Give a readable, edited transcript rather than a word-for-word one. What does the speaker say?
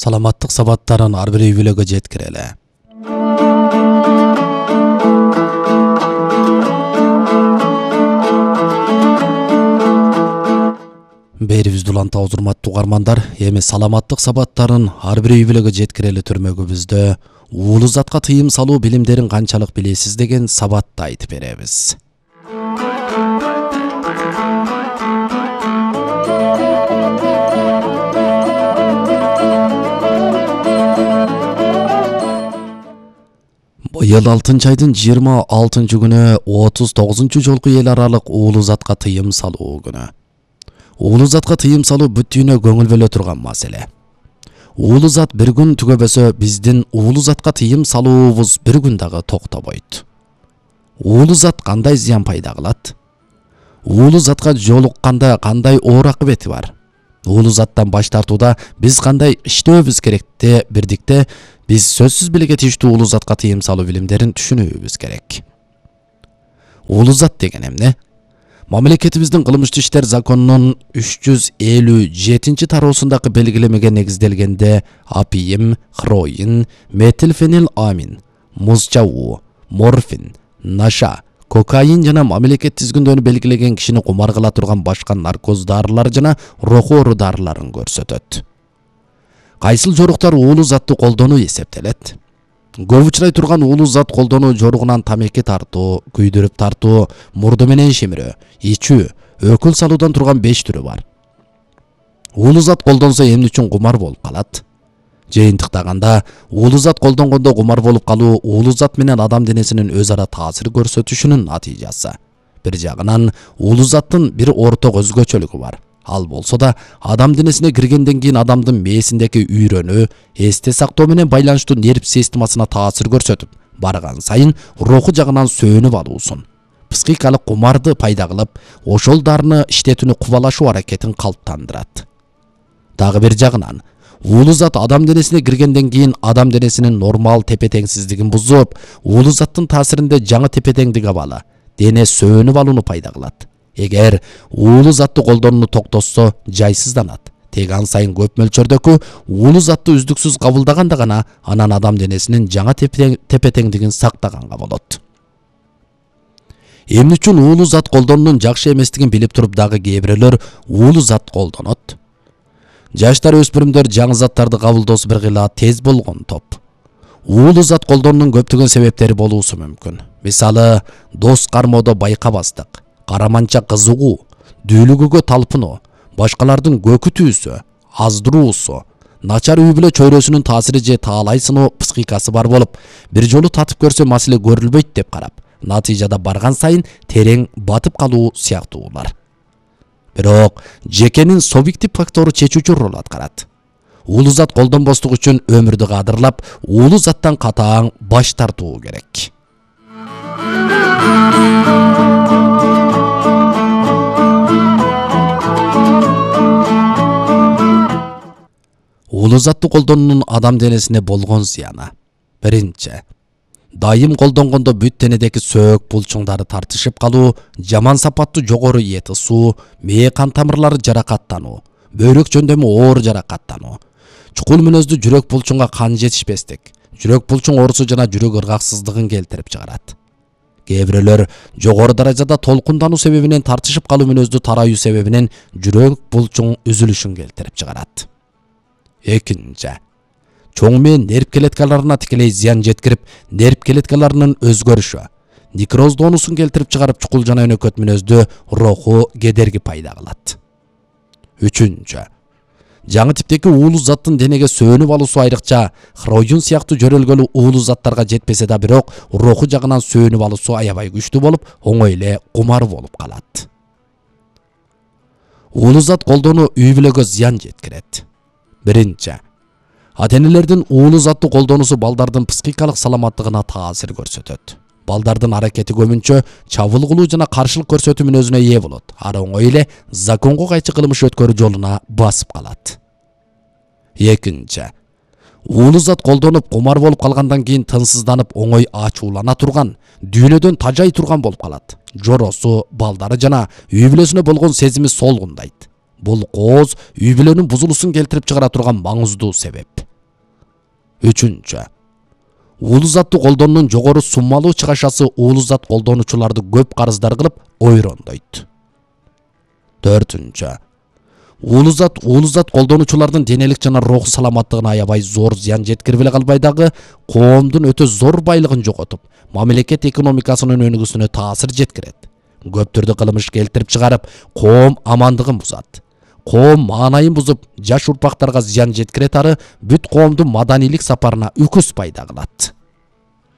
саламаттык сабаттарын ар бир үй бүлөгө жеткирели. Берибизди уланта урматтуу угармандар, эми саламаттык сабаттарын ар бир үй бүлөгө жеткирели түрмөгүбүздө уулу затка тыйым салуу билимдерин канчалык билесиз деген сабатты айтып беребиз. Быйыл 6 айдын 26 күнү 39 жолку эл аралык уулу затка тыйым салуу күнү. Уулу затка тыйым салуу бүттүүнө көңүл бөлө турган маселе. Уулу зат бир күн түгөбөсө, биздин уулу затка тыйым салуубуз бир күн дагы токтобойт. Уулу зат кандай зыян пайда кылат? Уулу затка жолукканда кандай оор акыбети бар? Уулу заттан баш тартууда биз кандай иштөөбүз керекте бирдикте биз сөзсүз белге тийиштүү уулу затка тыйым салуу билимдерин түшүнүүбүз керек. Уулу зат деген эмне? Мамлекетибиздин кылмыштуу иштер законунун 357 тароосундагы белгилемеге негизделгенде апийим, хроин, метилфениламин, муз чабуу, морфин, наша, кокаин жана мамлекет тизгиндөнү белгилеген кишини кумар кыла турган башка наркоз дарылар жана руху оору дарыларын көрсөтөт. Кайсыл жоруктар уулу затты колдонуу эсептелет? Көп учурай турган уулу зат колдонуу жоругунан тамеки тартуу, күйдүрүп тартуу, мурду менен шимирөө, ичүү, өкүл салуудан турган 5 түрү бар. Уулу зат колдонсо эмне үчүн кумар болуп калат? Жыйынтыктаганда, уулу зат колдонгондо кумар болуп калуу уулу зат менен адам денесинин өз ара таасир көрсөтүшүнүн натыйжасы. Бир жагынан уулу заттын бир орток өзгөчөлүгү бар. Ал болсо да адам денесине киргенден кийин адамдын мээсиндеги үйрөнүү, эсте сактоо менен байланыштуу нерв системасына таасир көрсөтүп, барган сайын руху жагынан сөөнүп алуусун, психикалык кумарды пайда кылып, ошол дарыны иштетүүнү кубалашуу аракетин калыптандырат. Дагы бир жагынан уулу зат адам денесине киргенден кийин адам денесинин нормал тепе-теңсиздигин бузуп, уулу заттын таасиринде жаңы тепе-теңдик абалы, дене сөөнүп алууну пайда кылат. Эгер уулу затты колдонууну токтотсо, жайсызданат. Теган сайын көп мөлчөрдөгү уулу затты үздүксүз кабылдаганда гана анан адам денесинин жаңа тепе-теңдигин сактаганга болот. Эмне үчүн уулу зат колдонуунун жакшы эместигин билип туруп дагы кээ бирөөлөр уулу зат колдонот? Жаштар өспүрүмдөр жаңы заттарды кабылдоосу бир кыйла тез болгон топ. Уулу зат колдонуунун көптөгөн себептери болуусу мүмкүн. Мисалы, дос кармоодо байкабастык, караманча кызыгуу, дүүлүгүгө талпынуу, башкалардын көкүтүүсү, аздыруусу, начар үй бүлө чөйрөсүнүн таасири же таалай сыноо психикасы бар болуп, бир жолу татып көрсө маселе көрүлбөйт деп карап, натыйжада барган сайын терең батып калуу сыяктуулар. Бирок жекенин субъектив фактору чечүүчү роль аткарат. Уулу зат колдонбостук үчүн өмүрдү кадырлап, уулу заттан катаң баш тартуу керек. Уулу затты колдонуунун адам денесине болгон зыяны. Биринчи, дайым колдонгондо бүт денедеги сөөк булчуңдары тартышып калуу, жаман сапаттуу жогору эт ысуу, мээ кан тамырлары жаракаттануу, бөйрөк жөндөмү оор жаракаттануу, чукул мүнөздүү жүрөк булчуңга кан жетишпестик, жүрөк булчуң оорусу жана жүрөк ыргаксыздыгын келтирип чыгарат. Кээ бирөөлөр жогору даражада толкундануу себебинен тартышып калуу мүнөздүү тараюу себебинен жүрөк булчуң үзүлүшүн келтирип чыгарат. Экинчи, чоң мен нерв клеткаларына тикелей зыян жеткирип, нерв клеткаларынын өзгөрүшү, некроздоонусун келтирип чыгарып, чукул жана өнөкөт мүнөздүү руху кедерги пайда кылат. Үчүнчү, жаңы типтеги уулу заттын денеге сөөнүп алуусу айрыкча хроин сыяктуу жөрөлгөлүү уулу заттарга жетпесе да, бирок руху жагынан сөөнүп алуусу аябай күчтүү болуп, оңой эле кумар болуп калат. Уулу зат колдонуу үй бүлөгө зыян жеткирет. Биринчи, ата-энелердин уулу затты колдонуусу балдардын психикалык саламаттыгына таасир көрсөтөт. Балдардын аракети көбүнчө чабылгылуу жана каршылык көрсөтүү мүнөзүнө ээ болот. Ары оңой эле законго кайчы кылмыш өткөрүү жолуна басып калат. Экинчи, уулу зат колдонуп кумар болуп калгандан кийин тынсызданып, оңой ачуулана турган, дүйнөдөн тажай турган болуп калат. Жоросу, балдары жана үй бүлөсүнө болгон сезими солгундайт. Бул кооз үй бүлөнүн бузулуусун келтирип чыгара турган маңыздуу себеп. Үчүнчү, уулу затты колдонуунун жогору суммалуу чыгашасы уулу зат колдонуучуларды көп карыздар кылып ойрондойт. Төртүнчү, уулу зат колдонуучулардын денелик жана руху саламаттыгына аябай зор зыян жеткирип эле калбай дагы коомдун өтө зор байлыгын жоготуп, мамлекет экономикасынын өнүгүүсүнө таасир жеткирет. Көп түрдүү кылмыш келтирип чыгарып, коом амандыгын бузат. Коом маанайын бузуп, жаш урпактарга зыян жеткирет ары бүт коомдун маданийлик сапарына үкүс пайда кылат.